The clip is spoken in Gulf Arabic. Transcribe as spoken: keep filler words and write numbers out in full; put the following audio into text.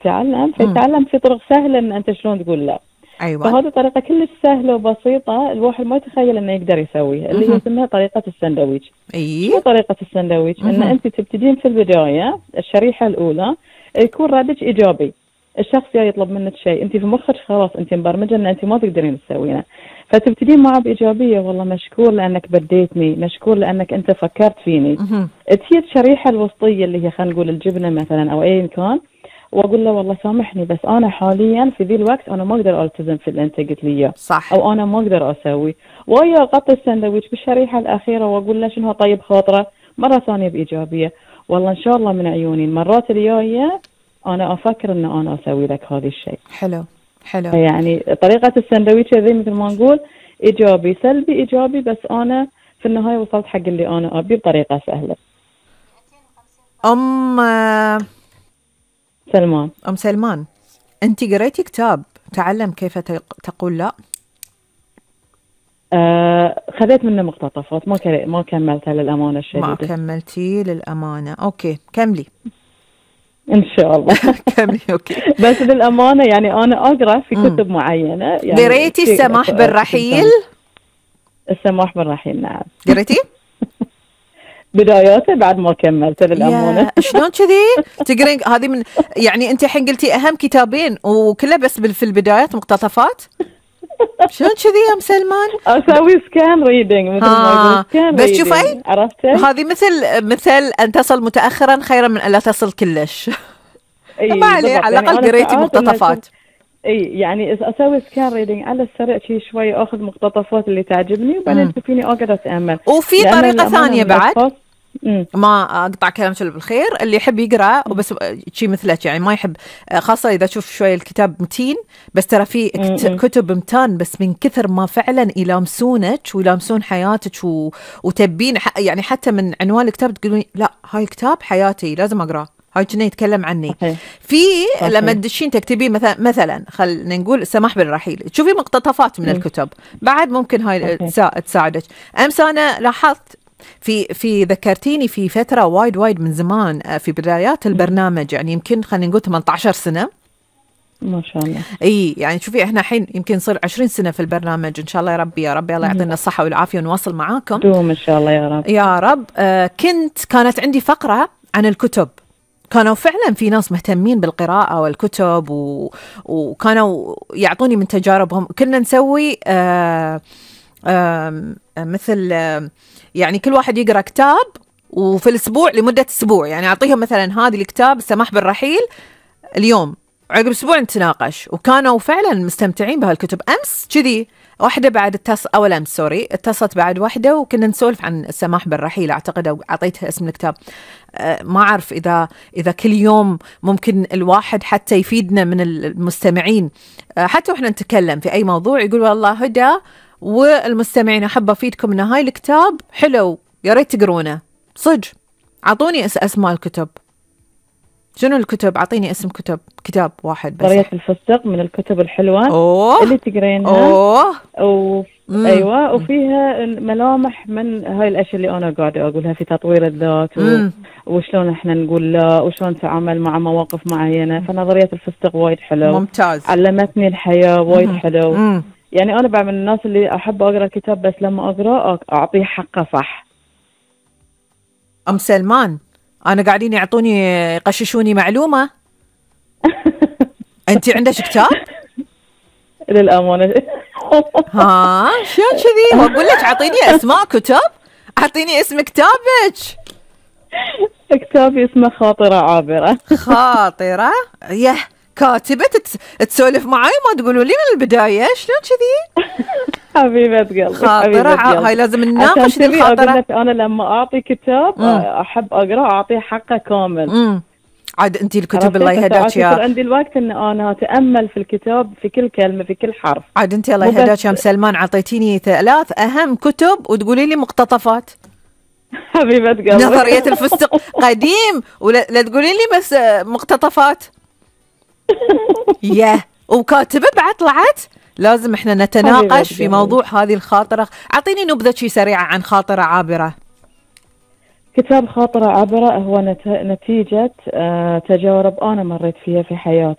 تتعلم فيتعلم في طرق سهلة ان انت شلون تقول لا. ايوه. فهذه طريقة كلش سهلة وبسيطة، الواحد ما يتخيل انه يقدر يسويها، اللي هي اسمها طريقة السندويش. اي شو طريقة السندويش؟ ان انت تبتدين في البداية الشريحة الاولى يكون ردك ايجابي، الشخص جاي يطلب منك شيء انت في مخك خلاص انت مبرمجة ان انت ما تقدرين تسوينه، فتبتدين معه بايجابيه، والله مشكور لانك بديتني، مشكور لانك انت فكرت فيني. تجي الشريحة الوسطية اللي هي خلينا نقول الجبنة مثلا او اي كان، واقول له والله سامحني بس انا حاليا في ذي الوقت انا ما اقدر التزم في اللي انت قلت لي اياه، صح، او انا ما اقدر اسوي، ويا اغطي السندويش بالشريحه الاخيره واقول له شنو طيب خاطره مره ثانيه بايجابيه، والله ان شاء الله من عيوني المرات الجايه انا افكر ان انا اسوي لك هذا الشيء. حلو حلو. يعني طريقه السندويش ذي مثل ما نقول ايجابي سلبي ايجابي، بس انا في النهايه وصلت حق اللي انا ابيه بطريقه سهله. ام سلمان ام سلمان، انت قريتي كتاب تعلم كيف تقول لا؟ آه خذيت منه مقتطفات، ما ك... ما كملتها للأمانة الشديدة. ما كملتي للأمانة، أوكي كملي إن شاء الله. كملي أوكي. بس للأمانة يعني أنا أقرأ في كتب مم. معينة. يعني قريتي السماح بالرحيل؟ السماح بالرحيل نعم. قريتي؟ بداياته بعد ما كملت للأمانة. شلون كذي؟ تقرين هذه من يعني أنت الحين قلتي أهم كتابين وكلها بس في البدايات مقتطفات؟ شلون كذي يا ام سلمان؟ اسوي سكان ريدنج مثل ما يقول. بس شوفي عرفتي هذه مثل مثل ان تصل متاخرا خيرا من ان لا تصل كلش. ما عليه، على الاقل قريتي مقتطفات. اي يعني اسوي سكان ريدنج على السريع شي شوي، اخذ مقتطفات اللي تعجبني وبعدين تشوفيني اقعد اتامل. وفي طريقه ثانيه بعد ما اقطع كلام شل بالخير، اللي يحب يقرا وبس شيء مثلك يعني ما يحب، خاصه اذا تشوف شوي الكتاب متين، بس ترى في كتب متان بس من كثر ما فعلا يلامسونك ويلامسون حياتك و... وتبين يعني حتى من عنوان الكتاب تقولون لا هاي الكتاب حياتي لازم اقراه، هاي كنا يتكلم عني. صحيح. في صحيح. لما تدشين تكتبي مثلا مثلا خلينا نقول السماح بالرحيل، تشوفي مقتطفات من م. الكتب بعد ممكن هاي صحيح. تساعدك. امس انا لاحظت في في ذكرتيني في فترة وايد وايد من زمان في بدايات البرنامج، يعني يمكن خلينا نقول ثمانية عشر سنة ما شاء الله. اي يعني شوفي احنا الحين يمكن صار عشرين سنة في البرنامج، ان شاء الله يا ربي يا ربي الله يعطينا الصحة والعافية ونواصل معاكم دوم ان شاء الله يا رب يا رب. آه كنت كانت عندي فقرة عن الكتب، كانوا فعلا في ناس مهتمين بالقراءة والكتب و... وكانوا يعطوني من تجاربهم. كنا نسوي آه آه مثل آه يعني كل واحد يقرأ كتاب وفي الأسبوع لمدة أسبوع، يعني أعطيهم مثلا هذه الكتاب السماح بالرحيل اليوم، عقب أسبوع نتناقش، وكانوا فعلا مستمتعين بهالكتب. أمس كذي واحدة بعد اتص أول أمس سوري اتصلت بعد واحدة وكنا نسولف عن السماح بالرحيل أعتقد، أو أعطيتها اسم الكتاب. أه ما أعرف إذا إذا كل يوم ممكن الواحد حتى يفيدنا من المستمعين، أه حتى وإحنا نتكلم في أي موضوع يقول والله هدى والمستمعين أحب أفيدكم إن هاي الكتاب حلو يا ريت تقرونه. صدق أعطوني اسماء الكتب. شنو الكتب؟ أعطيني اسم كتب، كتاب واحد بس. قرية الفستق من الكتب الحلوة أوه. اللي تقرينها. أوه. و... أيوة، وفيها ملامح من هاي الأشياء اللي أنا قاعدة أقولها في تطوير الذات و... وشلون إحنا نقول لا وشلون نتعامل مع مواقف معينة. فنظرية الفستق وايد حلو، ممتاز، علمتني الحياة وايد حلو. مم. يعني أنا بعد من الناس اللي أحب أقرأ كتاب بس لما أقرأ أعطيه حقه صح. أم سلمان أنا قاعدين يعطوني يقششوني معلومة. أنت عندك كتاب؟ للأمانة. ها شو كذي؟ وأقول لك أعطيني أسماء كتب، أعطيني اسم كتابك. كتابي اسمه خاطرة عابرة. خاطرة يه كاتبة تسولف معي ما تقولوا لي من البداية شلون كذي؟ حبيبة قلبي. خاطرة هاي لازم نناقش دي الخاطرة. أنا لما أعطي كتاب مم. أحب أقرأ أعطيه حقه كامل. مم. عاد أنت الكتب الله يهداك يا عندي الوقت إن أنا أتأمل في الكتاب في كل كلمة في كل حرف. عاد أنت الله يهداك يا سلمان عطيتيني ثلاث أهم كتب وتقولي لي مقتطفات. حبيبة قلبي. نظرية الفستق قديم ولا لا تقولي لي بس مقتطفات. ياه وكاتبة بعد طلعت. لازم احنا نتناقش في موضوع هذه الخاطرة. اعطيني نبذة شي سريعة عن خاطرة عابرة. كتاب خاطرة عبرة هو نت- نتيجة آه، تجارب أنا مريت فيها في حياتي.